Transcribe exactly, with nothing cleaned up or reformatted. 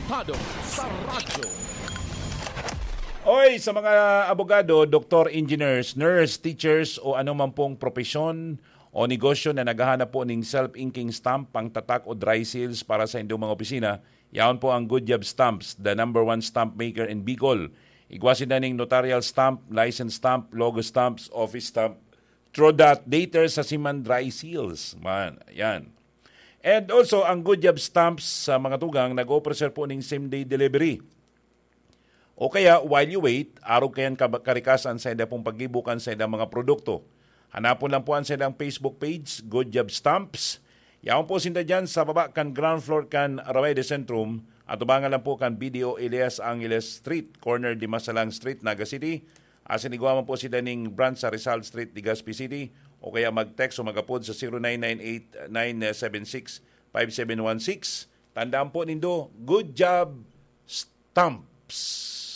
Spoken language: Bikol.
Konektado sa radyo. Oy, sa mga abogado, doktor, engineers, nurse, teachers o anuman pong propesyon o negosyo na naghahanap po ning self-inking stamp, pangtatak o dry seals para sa indong mga opisina, yaon po ang Good Job Stamps, the number one stamp maker in Bicol. Igwa sinda ning notarial stamp, license stamp, logo stamps, office stamp, through that dater sa siman dry seals. Man, yan. And also, ang Good Job Stamps sa mga tugang nag-offer po ning same-day delivery. O kaya, while you wait, arog kayan kab- karikasan sa ida pong paggibukan sa idang mga produkto. Hanapon lang po ang sa idang Facebook page, Good Job Stamps. Yaon po sinda dyan sa baba kan ground floor kan Raway de Centrum, at tubangan lang po kan B D O Elias Angeles Street, corner Dimasalang Street, Naga City. Asin igwa man po sinda ning branch sa Rizal Street, Legazpi City, o kaya mag-text o mag-apod sa zero nine nine eight nine seven six five seven one six. Tandaan po nindo, Good Job Stamps.